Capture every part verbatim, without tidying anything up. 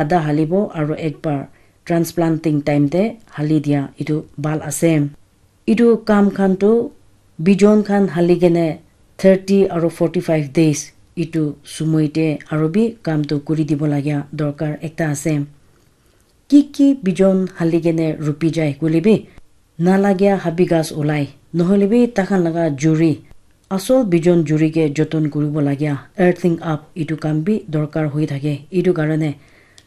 adha halibo aro ekbar transplanting time te hali dia etu bhal ase. Etu kam khan tu bijon khan hali kene thirty aro forty five days etu sumoi te aro bi kam tu kuri dibo lagia dorkar ekta ase. Ki ki bijon hali kene rupi jai koile bi nalagia habi ghas ulai, nohole bi takhan laga juri, asol bijon juri ke joton kuribo lagia earthing up etu kam bi dorkar hoi thake. Etu karone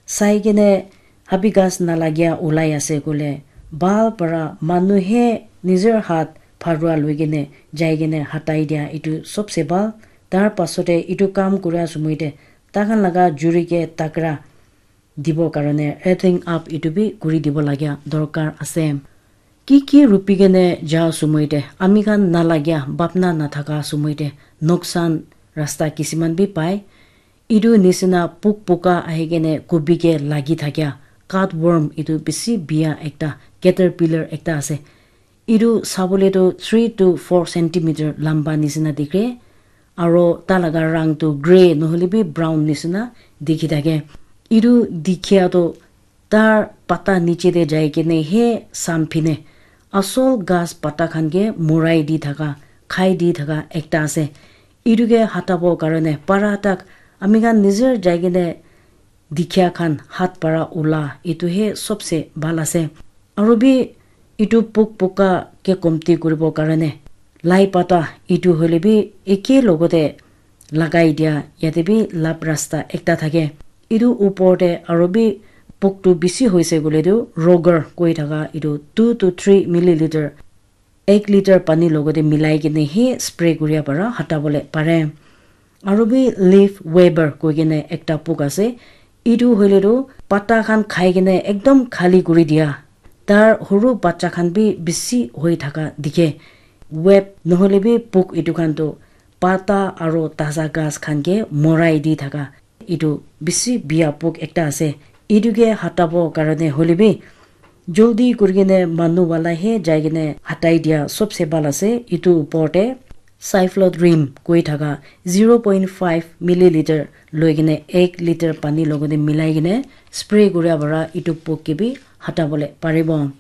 sai kene habi ghas nalagia ulai ase koile bhal para manu he nijor hath bharua loi kene jai kene hatai dia etu sobse bhal. Tar pasote etu kam kura sumoi te takhan laga juri ke takra dibo karone earthing up etu bi kuri dibo lagia dorkar ase. Ki ki rupi kene ja sumoi te ami khan nalagia bhapna nathaka sumoi te noksan rasta kisiman bi pai. Etu nisina puk puka ahi kene kubi ke lagi thakia cutworm etu bisi bia ekta caterpillar ekta ase. Etu sabole tu three to four centimeter lamba nisina dikhe aro ta laga rang tu grey nohole bi brown nisina dikhi thake. Etu dikhia tu tar pata niche te jai kene he samphine asol ghas pata khan ke murai di thaka, khai di thaka ekta ase. Etu ke hatabo karone para tak ami khan nijer jai kene dikhia khan hath para ula etu he sobse bhal ase. Aro bi etu puk puka ke komti kuribo karone lai pata etu hoile bi eke logote lagai dia yate bi lab rasta ekta thake. Etu upor te aro bi puk tu bisi hoise koile tu roger koi thaka etu two to three milliliter ek liter pani logote milai kene he spray kuria para hata bole pare. Aro bi leaf weber koi kene ekta puk ase. Etu hoile tu pata khan khai kene ekdom khali kuri dia. Tar huru bacha khan bi bisi hoi thaka dikhe. Web nohole bi puk etu khan tu pata aro taza ghas khan ke morai di thaka. Etu bisi bia pok ekta ase. Etu ke hatabo karone hoile bi joldi kuri kene manu wala he jai kene hatai dia sobse bhal ase. Etu upor te cyflodrim koi thaka zero point five milliliter loi kene ek liter pani logote milai kene spray kuria para etu pok ke bi hatabole paribo.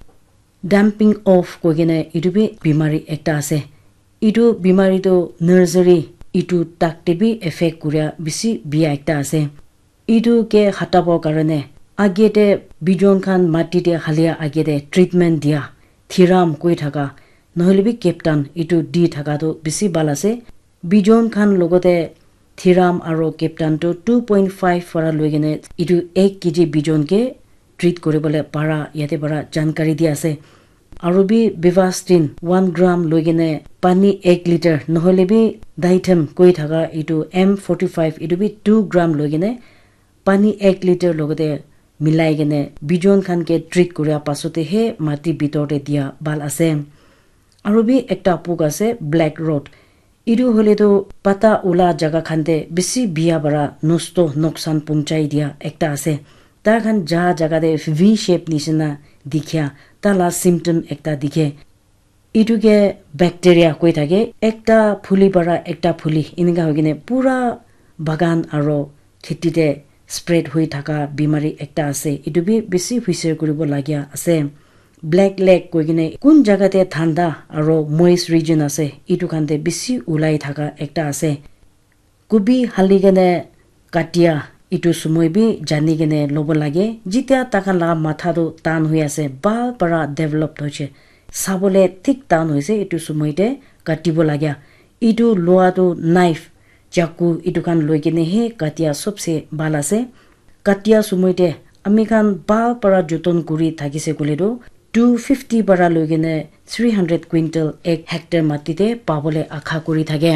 Damping off koi kene etu bi bimari ekta ase. Etu bimari tu nursery etu tak te bi effect kuria bisi bia ekta ase. Etu ke hatabo karone age te bijon khan mati te halia age te treatment dia thiram koi thaka nohole bi captain etu di thaka tu bisi bhal ase. Bijon khan logote thiram aro captain tu two point five para loi kene etu ek kg bijon ke treat kuribole para yate para jankari di ase. Aro bi bivastin one gram loi kene pani ek liter nohole bi ditham koi thaka etu M forty five etu bi two gram loi kene pani ek liter logote milai kene bijon khan ke treat kuria pasote he mati bitor te dia bhal ase. Aro bi ekta pok ase black rot. Etu hoile tu pata ula jaga khan te bisi bia para nosto noksan punchai dia ekta ase. Tai khan ja jaga te V shape nisina dikhia ta la symptom ekta dikhe. Etu ke bacteria koi thake ekta phuli para ekta phuli eninka hoi kene pura bagan aro kheti te spread hoi thaka bimari ekta ase. Etu bi bisi huisher kuribo lagia ase. Black leg koi kene kun jaga te thanda aro moist region ase etu khan te bisi ulai thaka ekta ase. Kubi hali kene katia etu sumoi bi jani kene lobo lage. Jitia takhan la matha tu tan hoi ase bhal para develop hoise sabole thik tan hoise etu sumoi te katibo lagia. Etu loa tu knife chaku etu khan loi kene he katia sobse bhal ase. Katia sumoi te ami khan bhal para joton kuri thakise koile tu two fifty para loi kene three hundred quintal ek hectare mati te pabole akha kuri thake.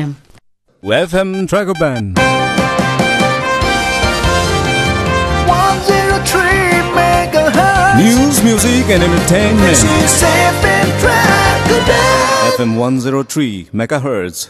F M Dragon Band. One zero three megahertz. News, music, and entertainment. This is F M Dragon Band. F M one zero three megahertz.